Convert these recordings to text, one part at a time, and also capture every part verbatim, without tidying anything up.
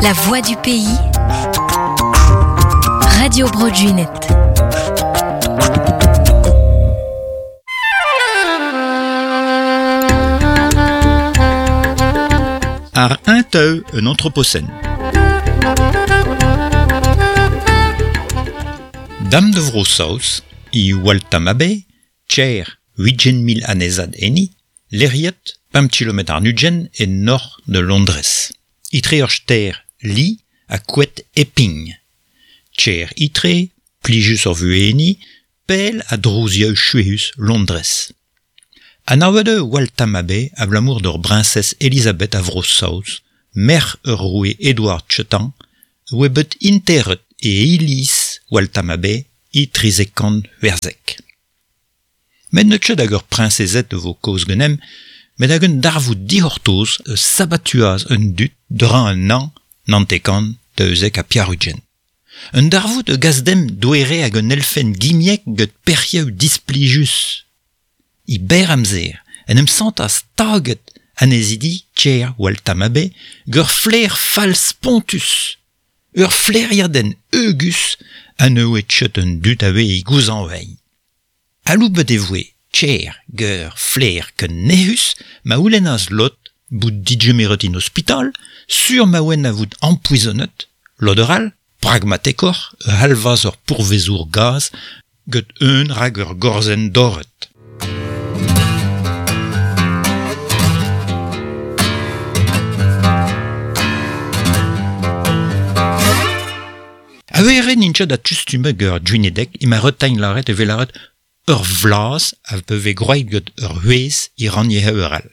La voix du pays. Radio Bro Gwened. Ar un teu un anthropocène. Dame de Vro-Saoz, i Waltham Abbey, tcher huitgen mil anezad eni, leriet pemp kilometr ar nudgen e nord de Londres. Itre ur ster li a kouet Epping. Tcher itre, plijus ur vueni, pel a drozioù chuehus Londres. Anavet eo Waltham Abbey abalamour d'ur briñsez Elizabeth a Vro-Saoz, merc'h ur roue Edward Chetan, oa bet interet e iliz Waltham Abbey e trizek kant c'hwezek. Met n'eus ket hag ur priñsezed vo kaoz ganemp, met hag un darvoud dic'hortoz eus sabatuaz un dud dra un an nantekant daouzek ha pevar-ugent. Un darvoud e gas demp doere hag un elfenn gimiek gant perc'hioù displijus. I berr amzer, en em santas taget anezidi tcher Waltham Abbey gant ur flaer fall spontus. Ur flaeriadenn heugus ha ne oa ket un dud a oa e gouzañv. Aloubet e voe tcher gant flaer ken nec'hus ma c'houlennas lod bout digemeret en ospital, sur ma oant a vout ampoezonet, lod ur all, pragmatekoc'h, ur c'halvaz ur pourvezour gaz gant un rak ur gorzenn dorret. A-were n'int ket a ur Gwenedeg ema retegn lâret evel lâret ur vlaz a veve gwraet gant ur c'hwezh e rannyezh ur all.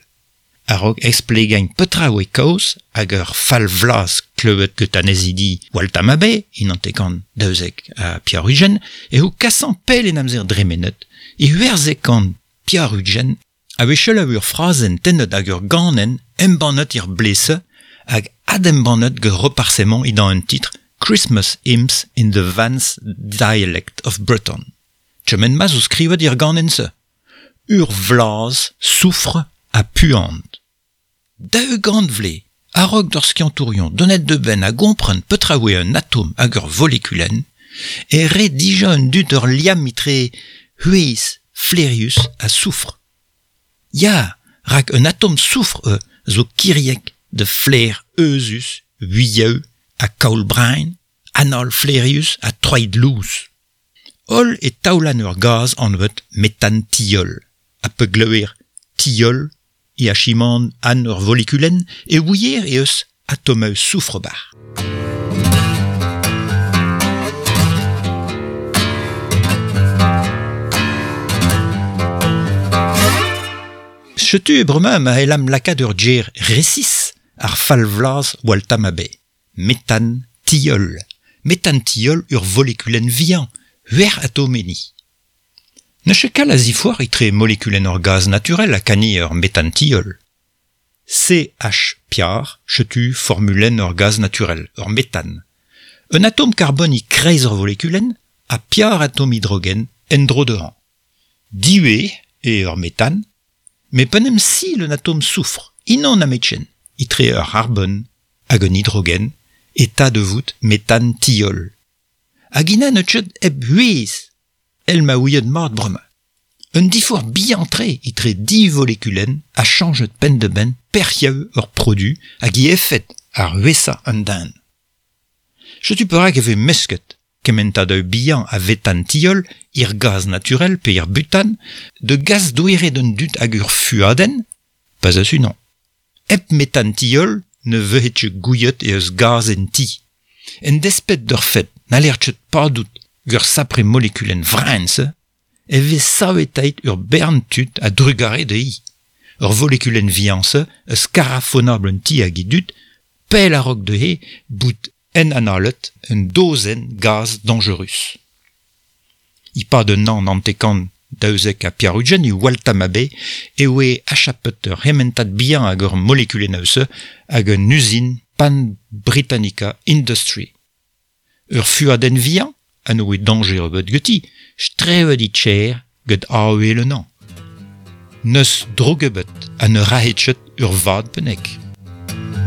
A-raok esplegañ petra oa kaoz hag ur fall vlaz klevet gant anezidi Waltham Abbey, e nantekant daouzek ha pevar-ugent, eo kasañ pell en amzer dremenet, e c'hwezek kant pevar-ugent a vez selaou ur frazenn tennet hag ur ganenn embannet er blese hag adembannet gant reparsemant edan un titr Christmas Hymns in the Vans Dialect of Breton. Kement ma zo skrivet ir ganenn-se. Ur vlaz soufre ha puant. Daou gant vlez, a-raok d'ur skiantourion donet de benn a gompren petra oa un atom hag ur volekulenn, e re dija un dud ur liamm etre c'hwezh flaerius ha soufr. Ya, rak un atom soufr e zo kiriek de flaer euzhus, vuiaou ha kaol-braen, anal flaerius ha troid lous. Holl e taolan ur gaz anvet metan-tiol, ha pegleuer tiol e achiman an ur volekulenn e ouier e eus atomeu soufr bar. Setu e bremañ ma c'hellam lakaat ur ger resis ar fall vlaz Waltham Abbey. Metan-tiol. Metan-tiol ur volekulenn vihan, c'hwec'h atom enni. N'eus ket kalz a ziforc'h etre molekulenn ur gaz naturel ha kani ur metan-tiol. C H piar, setu formulenn ur gaz naturel, ur metan. Un atom karbon e kreiz ur volekulenn ha piar atom hidrogen en-dro dezhañ. Div eo ur metan, met pa n'em sil un atom soufr, unan nemetken, etre ur c'harbon hag un hidrogen, eta de vout metan-tiol. Hag ina n'eus ket hep c'hwezh, el ma ouiet mat bremañ. Un diforc'h bihan-tre etre div volekulenn a chañjet penn-da-benn perc'hioù ur produ hag e efed ar c'hwezhañ an den. Setu perak e vez mesket kementadoù bihan a vetan-tiol, ir gaz naturel pe ir butan, de gaz doere d'un dud hag ur fuadenn, pas eus unan. Hep metan-tiol ne vehe ket gouiet e eus gaz en ti. En despet d'ur fed n'haller ket padout ur sapre molekulenn vraen-se, e vez savetait ur bern tud a drugare dezhi. Ur volekulenn vihan-se eus karafonabl un ti hag e dud, pell a-raok dezhe bout en analet un dozenn gaz dañjerus. E-pad un an hanter-kant daouzek ha pevar-ugent e Waltham Abbey e oa achapet ur c'hementad bihan hag ur molekulennoù-se hag un uzin Pan Britannica Industry. Ur fuadenn vihan ha ne oa dañjer ebet ganti, strevet e tcher gant avel un an. N'eus droug ebet ha ne rahet ket ur vad bennak.